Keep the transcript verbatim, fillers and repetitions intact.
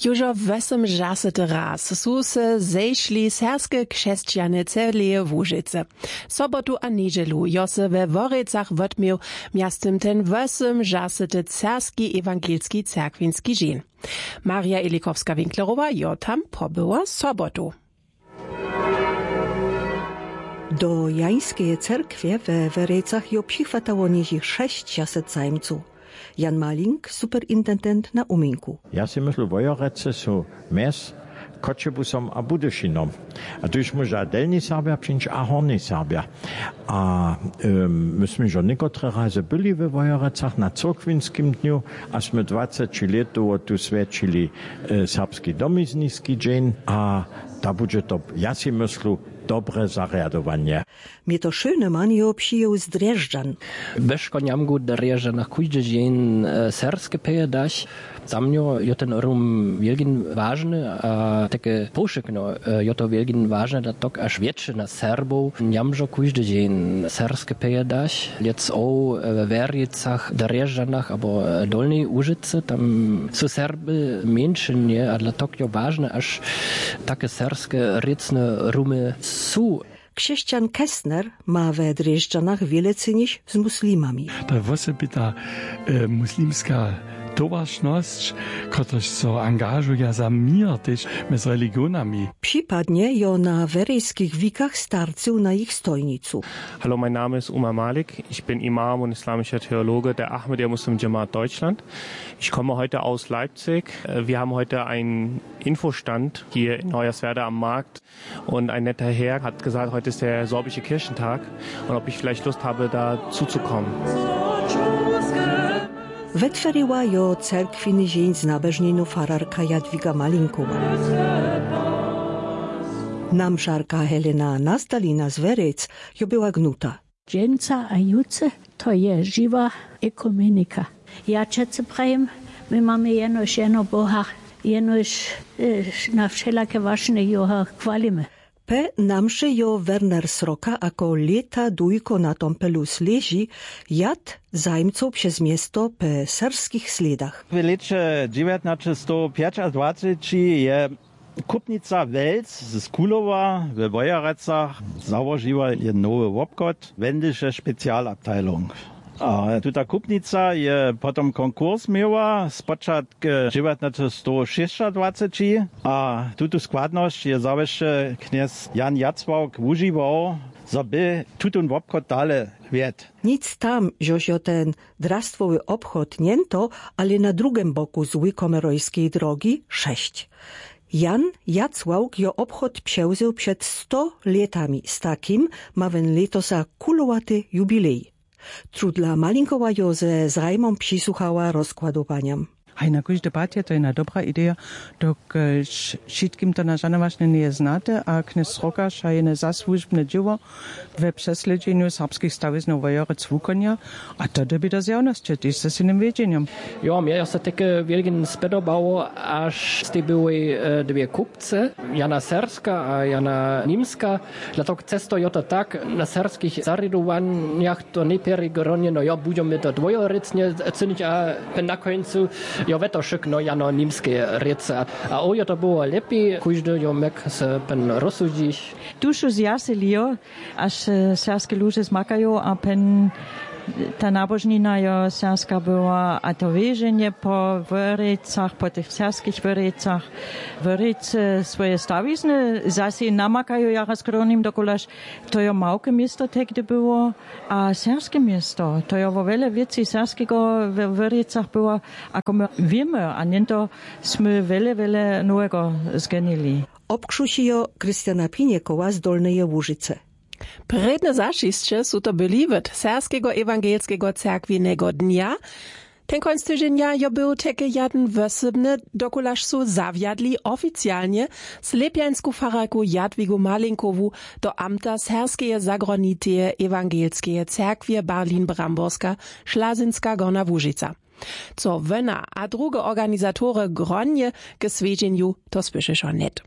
Jóžo wosomdźesety raz su se zešli serbske křesćany celeje łužicy. Sobotu a njedźelu jo se we worjecach wotměł mjeztym ten wosomdźesety serbski ewangelski cyrkwinski dźeń. Marja elikowska-winklerowa jo tam pobyła sobotu. Do jańskeje cyrkwje we worjecach jo přichwatało něžich šesćdźesat zajmcow. Jan malink, superintendent na uminku. Ja sej myslu wojorecy su mjez choćebusom a budyšinom. A tuž móža delni serbja přińć a horni serbja. A my smy žo někotre razy byli we wojorecach na cyrkwinskim dnju, a smy dwaceći lětowo tu swjećili serbski domizniski dźeń. A da budźe to, ja sej myslu, dobre zarjadowanje. Mje to šołny man jeho přijěł z drježdźan. Weško njamgu drježdźanach kóždy dźeń serbske pejadach. Za mnjo jo ten rum wjelkin wažny a take powšykno jo to wjelkin wažny da tok až wjetšina serbow njamžo kóždy dźeń serbske pejadach. Lětc ow we worjecach drježdźanach abo dolnej łužicy tam su serby mjeńšynje a dla tok jo wažne až take serbske rěcne rumy su. Křesćan kessner ma we drježdźanach wjele cynić z muslimami. To je wosebita muslimska towaršnosć, kotryž so angažuja za měr tež mjez religionami. Připadnje jo na werejskich wikach starcył na jich stojnicu. Hallo, mein Name ist Umar Malik. Ich bin Imam und islamischer Theologe der Ahmadiyya Muslim Jamaat Deutschland. Ich komme heute aus Leipzig. Wir haben heute einen Infostand hier in Hoyerswerda am Markt. Und ein netter Herr hat gesagt, heute ist der sorbische Kirchentag und ob ich vielleicht Lust habe, da zuzukommen. Wetweriła jo cyrkwiny dźeń z nabožninu fararka jadwiga malinkowa. Namšarka helena nastalina z werec jo była gnuta. Dźensa a jutře, to je žiwa ekumenika. Ja wšetcy prajim, my mamy jenož jeno boha, jenož na wšelake wašne joho chwalimy. P namše jo werner sroka ako lěta dujko na tompelu sleži jad zajmcow přez město p serbskich slědach. W lěće dźewjatnaćestowpjećadwaceći je kupnica welc z kulowa we wojerecach załožiła jedyn nowy wobchod, wendyše specialabteilung. A tuta kupnica je potom konkurs měła spočatk dźewjatnaćestowšěsćadwaceći. A tutu składnosć je zawěsće knjez jan jacławk wužiwał, zo by tutón wobchod dale wjedł. Nic tam, žož jo ten drastwowy obchod njento, ale na drugem boku z wikomerojskeje drogi šesć. Jan jacławk jo obchod přewzył před sto lětami, z takim ma wón lětosa kulowaty jubilej. Trudla malinkowa jo ze zrajmom přisłuchała rozkładowanjam. Haj, na kóždy pad je to jedna dobra ideja, dokelž wšitkim to na žanowašnje njeje znate a knjez srokaš a jene zasłužbne dźěło we přeslědźenju serbskich stawiznow wojerec wukonja. A to dyrbi do zjawnosće tež ze synim wědźenjom. Jo, mje jo so teke wjelkin spjedobało, až stej byłej dwě kupce, jana serbska a jana nimska. Dla tok cesto jo to tak, na serbskich zarjadowanjach to nejpjerjej gronjeno jo, budźemy to dwójorěcnje cynić a pyn na kóncu jo wetošykno jano nimskeje rěce. A ow jo to było lěpi, kóždy jo mjek se pyn rozsudźić. Tuž su zjaseli jo, až serbske luže zmakajo a pyn ta nabožnina jo serbska była a to wěženje po wyrejcach po tych serbskich wyrejcach. Wyrejce swoje stawizny zasej namakajo jara skrownim dokulaž. To jo małke město tehdy było a serbske město to jo wo wjele wěcej serbskeho we wyrejcach było, ako my wěmy a něnto smy wjele wjele nowego zgenili. Obkřušijo christiana pinjekowa z dolneje łužicy. Prědne zašisće su to byli wot serbskeho ewangelskeho cyrkwinjeho dnja. Ten kónc tydźenja jo był teke jedyn wosebny, dokulaž su zawjadli oficialnje slěpjańsku fararku jadwigu malinkowu do amta serbskeje zagroniteje ewangelskeje cyrkwje berlin bramborska šlazynska gorna łužica. Co wóna a druge organizatory gronje k swjedźenju, to słyšeše hnjet.